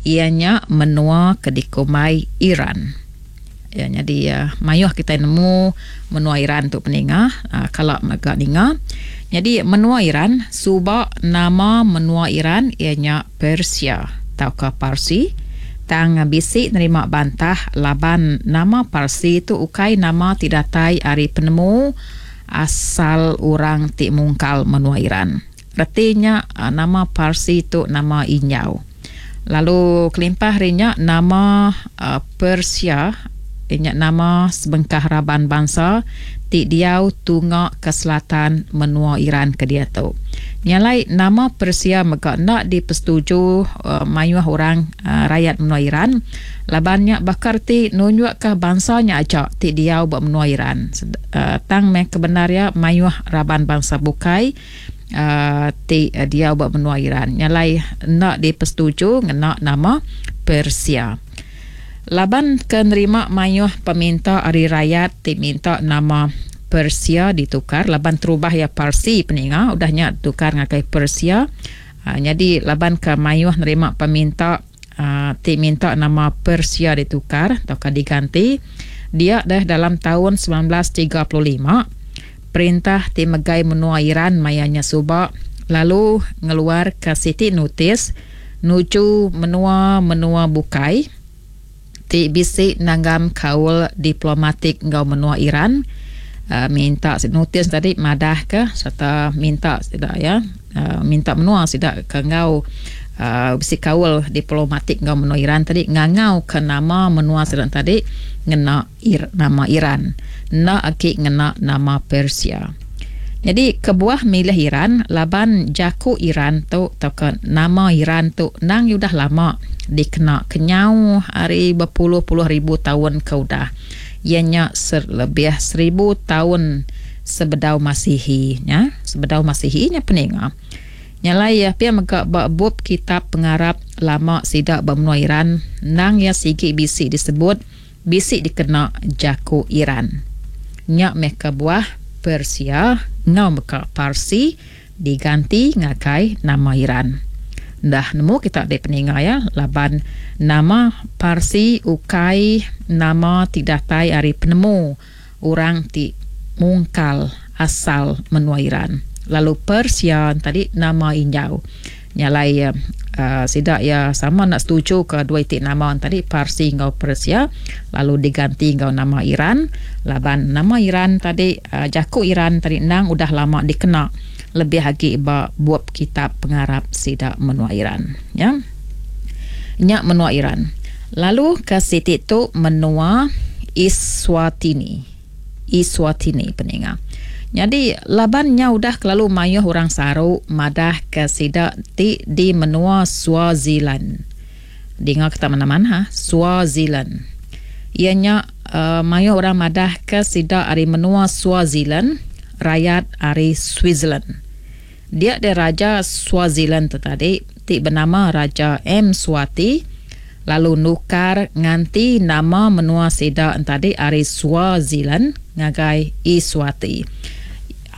Iya nya menua ke dikumbai Iran. Ya nyadi mayuh kitai nemu menua Iran tu peninga kala mega ninga. Nyadi menua Iran suba nama menua Iran iya nya Persia tauka Parsi tang bisi nerima bantah laban nama Parsi tu ukai nama ti datai ari penemu asal orang ti mungkal menua Iran. Reti nya nama Parsi tu nama injau. Lalu kelimpah ari nya nama Persia iya nya nama sebengkah raban bansa ti diau tunga ke selatan menua Iran ke diatu. Nya alai nama Persia mega enda dipesetuju mayuh orang rayat menua Iran laban nya baka reti nunjukka bansa nya aja ti diau ba menua Iran. Tang meh kebendar iya mayuh raban bansa bukai ti diau ba menua Iran nya alai enda dipesetuju ngena nama Persia. Laban ke nerima mayuh peminta ari rayat ti minta nama Persia ditukar laban terubah iya Parsi peninga udah nya ditukar ngagai Persia nyadi laban ke mayuh nerima peminta ti minta nama Persia ditukar tauka diganti dia deh dalam taun 1935 perintah ti megai menua Iran maya nya suba lalu ngeluarka siti notis nuju menua-menua bukai ti bisi nanggam kaul diplomatik enggau menua Iran minta notis tadi madahka sereta minta sida iya minta menua sida ke enggau bisi kaul diplomatik enggau menua Iran tadi ngangauka nama menua sida tadi ngena nama Iran enda agi ngena nama Persia. Nyadi kebuah milih Iran laban jaku Iran tu tauka nama Iran tu endang udah lama dikena kenyau ari bepuluh-puluh ribu taun ke udah iya nya lebih seribu taun sebedau Masihi nya sebedau Masihi nya peninga. Nya alai pia mega ba bup kitab pengarap lama sida ba menua Iran endang iya sigi bisi disebut bisi dikena jaku Iran. Nya meh kebuah Persia enggau mega Parsi diganti ngagai nama Iran. Enda nemu kita deh peninga iya laban nama Parsi ukai nama ti datai ari penemu orang ti mungkal asal menua Iran. Lalu Persia tadi nama injau. Nya alai sida iya sama enda setuju ke dua iti nama tadi Parsi enggau Persia lalu diganti enggau nama Iran laban nama Iran tadi jaku Iran tadi endang udah lama dikena lebih agi ba bup kitab pengarap sida menua Iran. Ya. Nya menua Iran. Lalu ke siti tu menua Iswatini. Iswatini peninga. Nyadi laban nya udah kelalu mayuh orang saru madah ke sida ti di menua Swaziland. Dinga kita manah-manah Swaziland. Iya nya mayuh orang madah ke sida ari menua Swaziland rayat ari Switzerland. Dia deh Raja Swaziland tu tadi ti benama Raja Mswati lalu nukar nganti nama menua sida entadi ari Swaziland ngagai Iswati.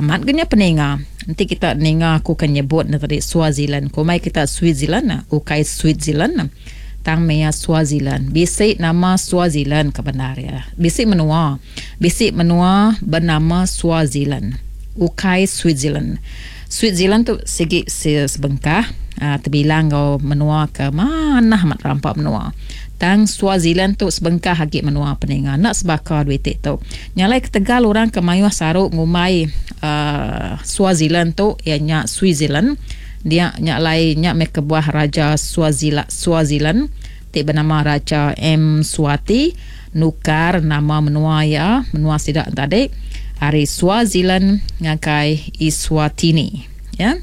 Amat ga nya peninga. Enti kita ninga aku ke nyebut ne tadi Swaziland kumbai kita Switzerland ukai Switzerland tang meh iya Swaziland. Bisi nama Swaziland ke bendar iya. Bisi menua. Bisi menua benama Swaziland, ukai Switzerland. Switzerland tu sigi sebengkah tebilang enggau menua ke manah amat rampa menua. Tang Swaziland tu sebengkah agi menua peninga enda sebaka dua iti tu. Nya alai ketegal orang ke mayuh saru ngumbai Swaziland tu iya nya Switzerland dia nya alai nya meh kebuah Raja Swaziland ti benama Raja Mswati nukar nama menua iya, menua sida tadi, ari Swaziland ngagai Eswatini. Ya.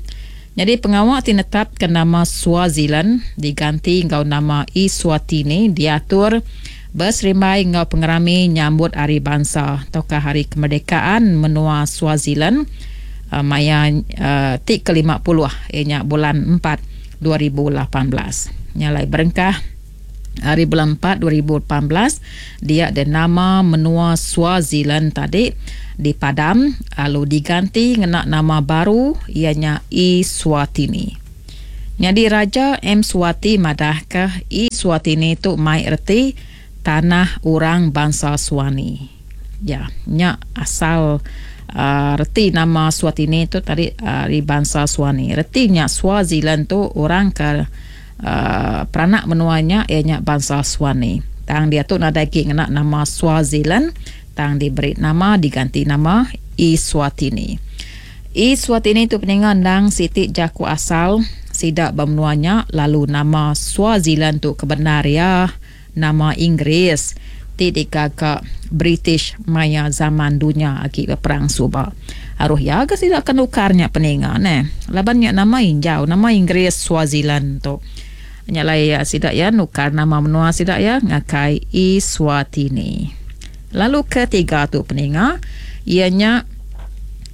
Nyadi pengawa ti netapka nama Swaziland diganti enggau nama Eswatini diatur beserimbai enggau pengerami nyambut Hari Bansa tauka Hari Kemerdekaan menua Swaziland maya ti ke 50 iya nya bulan empat 2018. Nya alai berengkah Ari bulan empat 2018, dia deh nama menua Swaziland tadi dipadam lalu diganti ngena nama baru iya nya Eswatini. Nyadi Raja Mswati madahka. Eswatini tu mai reti tanah orang bansa Swani. Ya, nya asal reti nama Swatini tu tadi ari bansa Swani. Reti nya Swaziland tu orang ke peranak menua nya iya nya bansa Swani. Tang diatu nadai agi ngena nama Swaziland tang diberi nama diganti nama Eswatini. Eswatini tu peninga endang siti jaku asal sida ba menua nya lalu nama Swaziland tu kebendar iya nama Inggeris ti digaga British maya zaman dunya agi beperang suba. Aruh iya ga sida ke nukar nya peninga neh. Laban nya nama injau, nama Inggeris Swaziland tu. Nya alai sida iya nukar nama menua sida iya ngagai Eswatini. Lalu ketiga tu peninga iya nya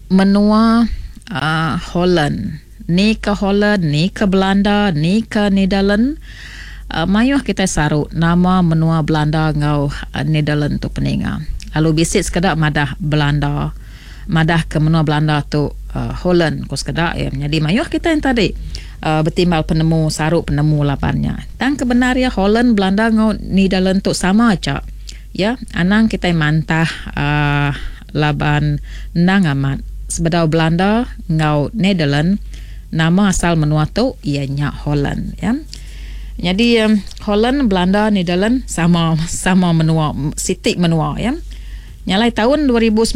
menua uhh Holland. Ni ke Holland, ni ke Belanda, ni ke Netherland. Mayuh kitai saru nama menua Belanda enggau Netherland tu peninga. Lalu bisi sekeda madah Belanda madah ke menua Belanda tu Holland ku sekeda iya. Nyadi mayuh kitai enti tadi betimbal penemu saru penemu laban nya. Tang ke bendar iya Holland, Belanda enggau Netherland tu sama aja. Ya, anang kitai mantah uhh laban endang amat sebedau Belanda enggau Netherland nama asal menua tu iya nya Holland ya. Nyadi Holland, Belanda, Netherland sama sama menua siti menua ya. Nya alai taun 2019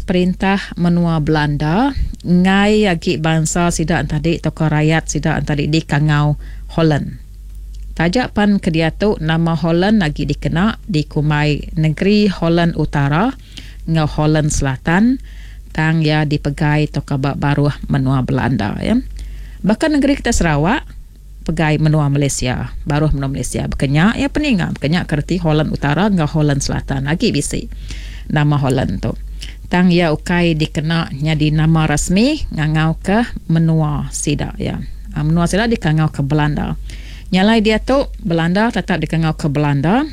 perintah menua Belanda enggai agi bansa sida tadi tauka rayat sida tadi dikangau Holland. Taja pan kediatu nama Holland agi dikena dikumbai Negeri Holland Utara enggau Holland Selatan tang iya dipegai tauka ba baruh menua Belanda. Baka negeri kitai Sarawak pegai menua Malaysia, baruh menua Malaysia. Baka nya iya peninga, baka nya ke reti Holland Utara enggau Holland Selatan agi bisi nama Holland tu. Tang iya ukai dikena nyadi nama rasmi ngangauka menua sida iya. Menua sida dikangauka Belanda. Nya alai diatu, Belanda tetap dikangauka Belanda.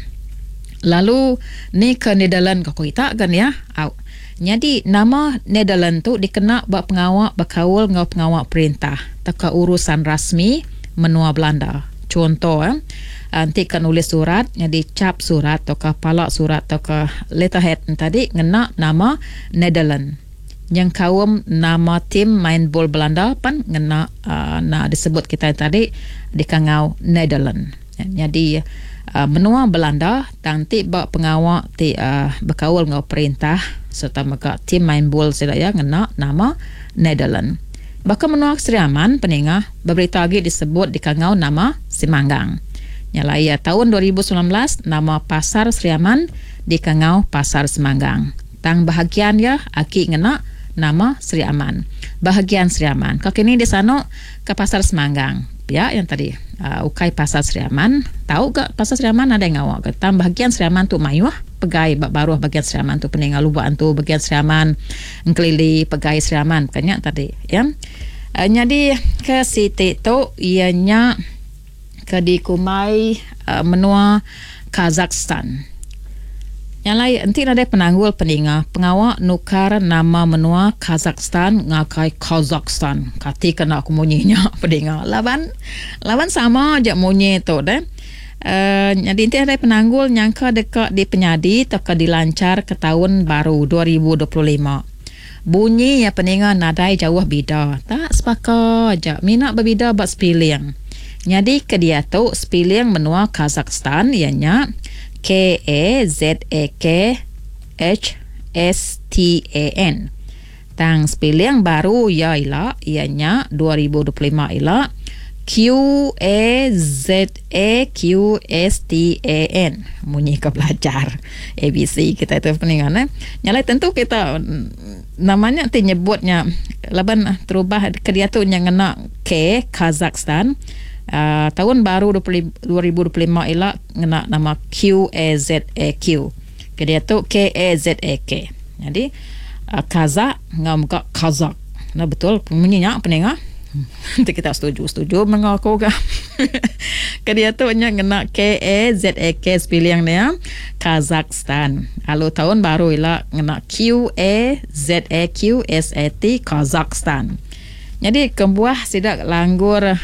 Lalu ni ke Netherland ko kita ga nia. Au. Nyadi nama Netherland tu dikena ba pengawa bekaul enggau pengawa perintah tauka urusan rasmi menua Belanda. Chunto, enti ka nulis surat nyadi chap surat tauka pala surat tauka letterhead tadi ngena nama Netherland. Nyengkaum nama tim main bol Belanda pan ngena na disebut kitai tadi dikangau Netherland. Nyadi menua Belanda tang ti ba pengawa ti bekaul enggau perintah sereta mega tim main bol sida iya ngena nama Netherland. Baka menua Sri Aman peninga beberita agi disebut dikangau nama Simanggang. Nya alai taun 2019 nama pasar Sri Aman dikangau Pasar Simanggang. Tang bahagian iya agi ngena nama Sri Aman. Bahagian Sri Aman. Ka kini disanu ka Pasar Semanggang. Pia yang tadi. Uh, ukai Pasar Sri Aman. Tau ga Pasar Sri Aman nadai ngawa ga. Tang bahagian Sri Aman tu mayuh pegai ba baruh bahagian Sri Aman tu peninga Lubok Antu bahagian Sri Aman, Engkelili pegai Sri Aman ka nya tadi ya. Uh, nyadi ke siti tu iya nya ke dikumbai menua Kazakhstan. Nya alai enti nadai penanggul peninga pengawa nukar nama menua Kazakhstan ngagai Kazakhstan. Kati ke enda ku munyi nya peninga laban laban sama aja munyi tu deh. Uhh nyadi enti nadai penanggul nyangka deka dipenyadi tauka dilanchar ke taun baru 2025. Bunyi iya peninga nadai jauh bida. Tak sebaka aja mina bebida ba sepiling. Nyadi ke diatu sepiling menua Kazakhstan iya nya K-A-Z-A-K-H-S-T-A-N. Tang sepiling baru iya ila iya nya 2025 ila Q-A-Z-A-Q-S-T-A-N. Munyi ke belajar ABC kitai tu peninga neh. Nya alai tentu kita nama nya ti nyebut nya laban terubah ke diatu nya ngena K Kazakhstan uhh taun baru 2025 ila ngena nama Q-A-Z-A-Q. Ke diatu K-A-Z-A-K. Nyadi Kazakh enggau mega Kazakh. Enda betul munyi nya peninga. Enti kita setuju setuju meh enggau aku ga. Ke diatu nya ngena K-A-Z-A-K sepiling nya Kazakhstan. Lalu taun baru ila ngena Q-A-Z-A-Q-S-A-T Kazakhstan. Nyadi kebuah sida langgur uhh.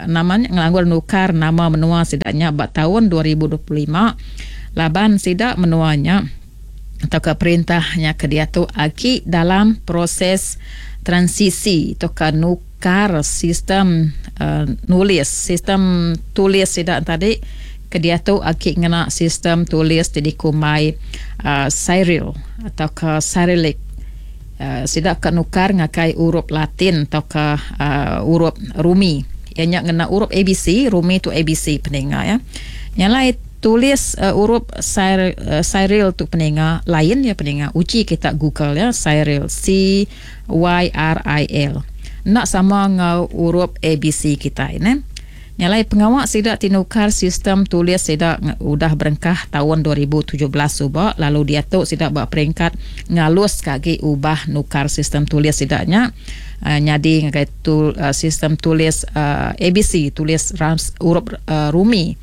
nama nya ngelanggur nukar nama menua sida nya ba taun 2025 laban sida menua nya tauka perintah nya ke diatu agi dalam proses transisi tauka nukar sistem nulis sistem tulis sida tadi ke diatu agi ngena sistem tulis ti dikumbai Cyril tauka Cyrillic. Sida ka nukar ngagai urup Latin tauka urup Rumi. Iya nya ngena urup ABC, Rumi tu ABC peninga iya. Nya alai tulis urup Cyril tu peninga lain iya peninga. Uji kita google iya Cyril C Y R I L. Enda sama enggau urup ABC kitai neh. Nya alai pengawa sida ti nukar sistem tulis sida udah berengkah taun 2017 suba lalu diatu sida ba peringkat ngaluska agi ubah nukar sistem tulis sida nya nyadi ngagai sistem tulis ABC tulis urup rumi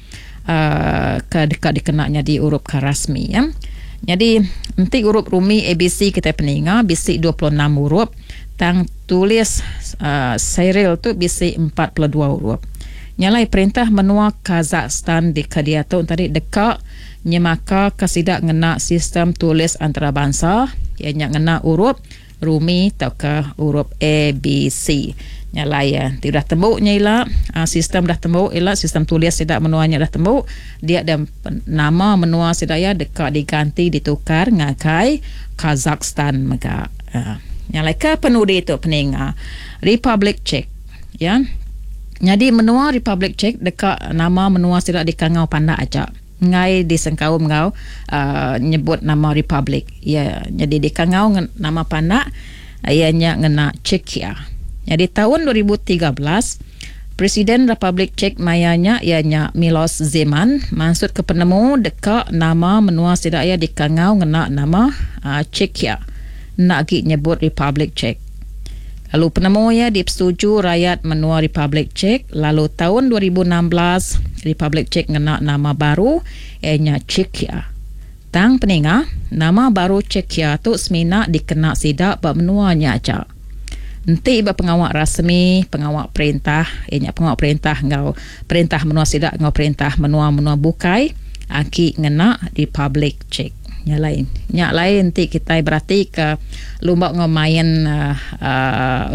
ke deka dikena nyadi urup ke rasmi. Nyadi enti urup rumi ABC kitai peninga bisi 26 urup. Tang tulis Cyril tu bisi 42 urup. Nya alai perintah menua Kazakhstan di ke diatu tadi deka nyemakaka sida ngena sistem tulis antarabansa iya nya ngena urup Rumi tauka urup ABC. Nya alai ti udah tembu nya ila sistem udah tembu ila sistem tulis sida menua nya udah tembu dia deh nama menua sida iya deka diganti ditukar ngagai Kazakhstan mega. Nya alai ke penudi tu peninga Republic Czech ya. Nyadi menua Republic Czech deka nama menua sida dikangau pandak aja. Enggai disengkaum enggau uhh nyebut nama Republic. Iya nyadi dikangau nama pandak iya nya ngena Czechia. Nyadi taun 2013 Presiden Republik Czech maya nya iya nya Milos Zeman mansutka penemu deka nama menua sida iya dikangau ngena nama Czechia enda agi nyebut Republik Czech. Lalu penemu iya dipesetuju rayat menua Republik Czech lalu taun 2016 Republik Czech ngena nama baru iya nya Czechia. Tang peninga, nama baru Czechia tu semina dikena sida ba menua nya aja. Enti ba pengawa rasmi, pengawa perintah, iya nya pengawa perintah enggau perintah menua sida enggau perintah menua-menua bukai agi ngena Republic Czech. Nya alai, nya alai enti kitai beratika lumba enggau main uhh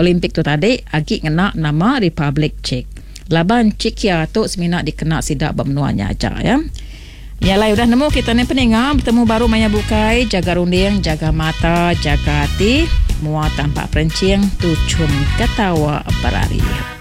Olimpik tu tadi agi ngena nama Republic Czech. Laban Czechia tu semina dikena sida ba menua nya aja ya. Nya alai udah nemu kita ni peninga betemu baru maya bukai jaga runding jaga mata jaga ati mua tampak perenching tuchum ketawa berari.